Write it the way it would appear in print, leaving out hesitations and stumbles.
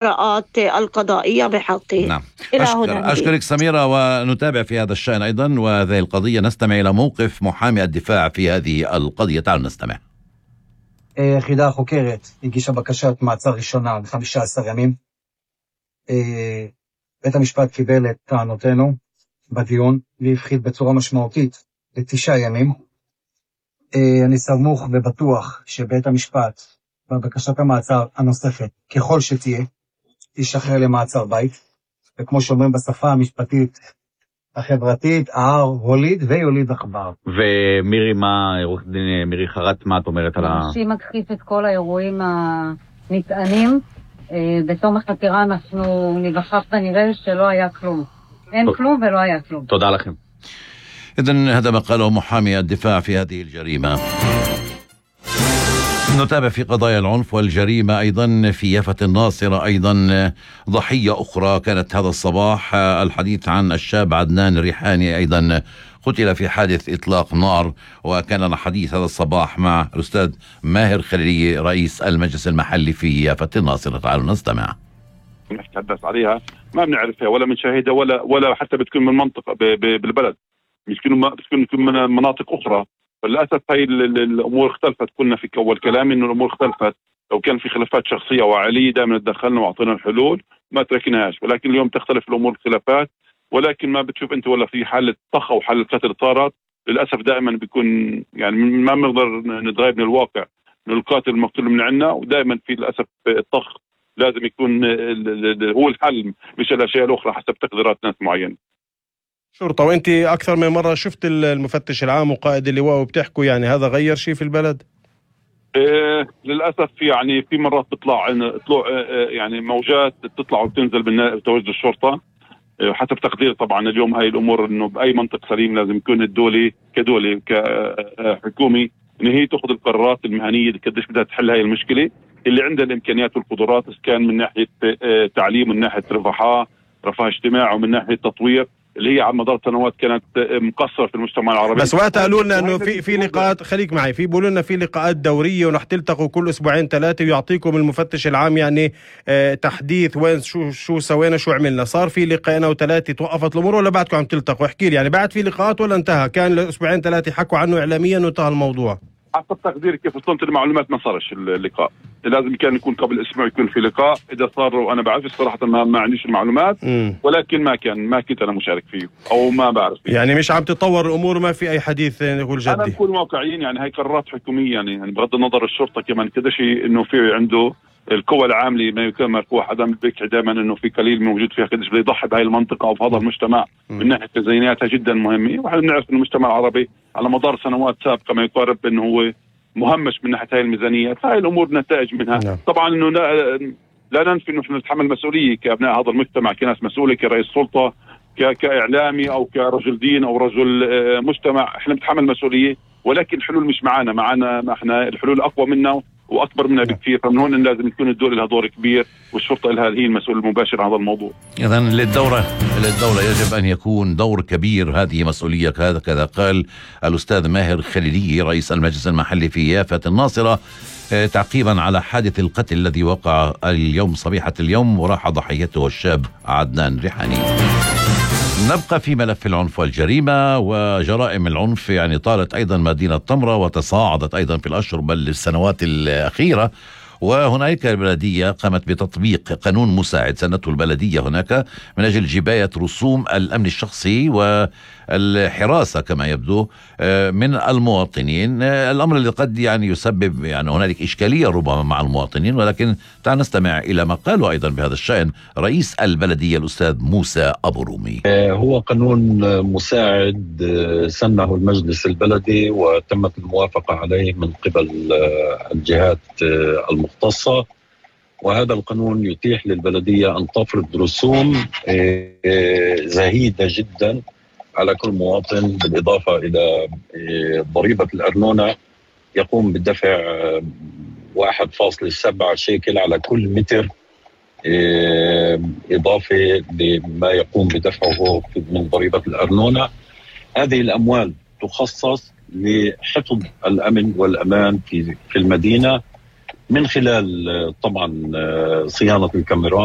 الإجراءات القضائية بحقه. نعم. أشكرك سميرة، ونتابع في هذا الشأن أيضا وهذه القضية. نستمع إلى موقف محامي الدفاع في هذه القضية. تعالوا نستمع. היחידה החוקרת הגישה בקשת מעצר ראשונה ל-15 ימים. בית המשפט קיבל את טענותינו בדיון והפחית בצורה משמעותית ל9 ימים. אני סמוך ובטוח שבית המשפט בבקשת המעצר הנוספת, ככל שתהיה, תשחרר למעצר בית, וכמו שאומרים בשפה המשפטית החברתית, הער הוליד ויוליד עכבר. ומירי, מירי חרט, מה את אומרת על שהיא מכחיש את כל האירועים הנטענים. בתום החקירה אנחנו נבחף ונראה שלא היה כלום. אין כלום ולא היה כלום. תודה לכם. إذن هذا ما قاله محامي الدفاع في هذه الجريمة. نتابع في قضايا العنف والجريمة أيضا في يافة الناصرة. أيضا ضحية أخرى كانت هذا الصباح. الحديث عن الشاب عدنان الريحاني، أيضا قتل في حادث إطلاق نار. وكان لنا حديث هذا الصباح مع الأستاذ ماهر خليلي رئيس المجلس المحلي في يافة الناصرة. تعالوا نستمع. نتحدث عليها ما بنعرفها ولا بنشاهدها ولا حتى بتكون من منطقة بالبلد، بتكون من مناطق أخرى. فللأسف هاي الأمور اختلفت. قلنا في أول كلامي إنه الأمور اختلفت. لو كان في خلافات شخصية وعالية دائما تدخلنا وعطينا الحلول ما تركناهاش، ولكن اليوم تختلف الأمور خلافات. ولكن ما بتشوف أنت ولا في حالة طخ أو حالة قتل صارت. للأسف دائما بيكون يعني ما بنقدر نتغير من الواقع إنه القاتل المقتول من عنا، ودائما في للأسف الطخ لازم يكون هو الحل مش الأشياء الأخرى حسب تقديرات ناس معينة. شرطة، وانت اكثر من مرة شفت المفتش العام وقائد اللواء وبتحكوا يعني هذا غير شيء في البلد؟ للأسف يعني في مرات بتطلع يعني موجات بتطلع وبتنزل بتواجد الشرطة حسب تقدير. طبعا اليوم هاي الأمور انه بأي منطق سليم لازم يكون الدولة كدولة كحكومي ان هي تأخذ القرارات المهنية قديش بدها تحل هاي المشكلة اللي عندها الإمكانيات والقدرات، كان من ناحية تعليم، من ناحية رفاه اجتماعي، ومن ناحية تطوير اللي هي على مدار سنوات كانت مقصرة في المجتمع العربي. بس وقت قالوا لنا انه في لقاءات، خليك معي، في بيقولوا لنا في لقاءات دورية ورح تلتقوا كل اسبوعين 3 ويعطيكم المفتش العام يعني تحديث وين شو سوينا شو عملنا. صار في لقاءين و3 توقفت الامور ولا بعدكم عم تلتقوا؟ احكي لي يعني بعد في لقاءات ولا انتهى؟ كان الاسبوعين 3 حكوا عنه اعلاميا وانتهى الموضوع. حسب تقديري كيف وصلت المعلومات ما صارش اللقاء. لازم كان يكون قبل اسبوع يكون في لقاء. اذا صار وانا بعرف صراحه ما عنديش المعلومات، ولكن ما كنت انا مشارك فيه او ما بعرف فيه. يعني مش عم تتطور الامور، ما في اي حديث نقول جدي. انا بكون واقعيين، يعني هاي قرارات حكوميه يعني بغض النظر الشرطه كمان كذا شيء انه في عنده القوى العامله ما يكون مركوح عدم بيحكي دائما انه في قليل موجود فيها قديش بده يضحي بهاي المنطقه او بهذا المجتمع من ناحيه تزييناتها جدا مهمه. ونحن بنعرف ان المجتمع العربي على مدار سنوات سابقه ما يقارب انه هو مهمش من ناحيه هاي الميزانيات. هاي الامور نتائج منها. طبعا انه لا ننفي انه نتحمل مسؤوليه كابناء هذا المجتمع، كناس مسؤوله، كرئيس سلطه، كاعلامي او كرجل دين او رجل مجتمع، احنا بنتحمل مسؤوليه، ولكن الحلول مش معنا احنا الحلول اقوى منا واكبر منها بكثير. فمن هون لازم يكون الدوله لها دور كبير والشرطه لها هي المسؤول المباشر عن هذا الموضوع. اذا للدوله يجب ان يكون دور كبير، هذه مسؤوليه. كذا قال الاستاذ ماهر خليلي رئيس المجلس المحلي في يافة الناصرة تعقيبا على حادث القتل الذي وقع اليوم صبيحة اليوم وراح ضحيته الشاب عدنان ريحاني. نبقى في ملف العنف والجريمة وجرائم العنف. يعني طالت أيضا مدينة طمرة وتصاعدت أيضا في الأشهر بل السنوات الأخيرة. وهناك البلدية قامت بتطبيق قانون مساعد سنته البلدية هناك من أجل جباية رسوم الأمن الشخصي والحراسة كما يبدو من المواطنين. الأمر اللي قد يعني يسبب يعني هنالك إشكالية ربما مع المواطنين، ولكن تعال نستمع إلى ما قالوا أيضا بهذا الشأن رئيس البلدية الأستاذ موسى أبو رومي. هو قانون مساعد سنه المجلس البلدي وتمت الموافقة عليه من قبل الجهات المختصة، وهذا القانون يتيح للبلدية أن تفرض رسوم زهيدة جدا على كل مواطن، بالإضافة إلى ضريبة الأرنونة يقوم بدفع 1.7 شيكل على كل متر، إضافة لما يقوم بدفعه من ضريبة الأرنونة. هذه الأموال تخصص لحفظ الأمن والأمان في المدينة من خلال طبعا صيانة الكاميرات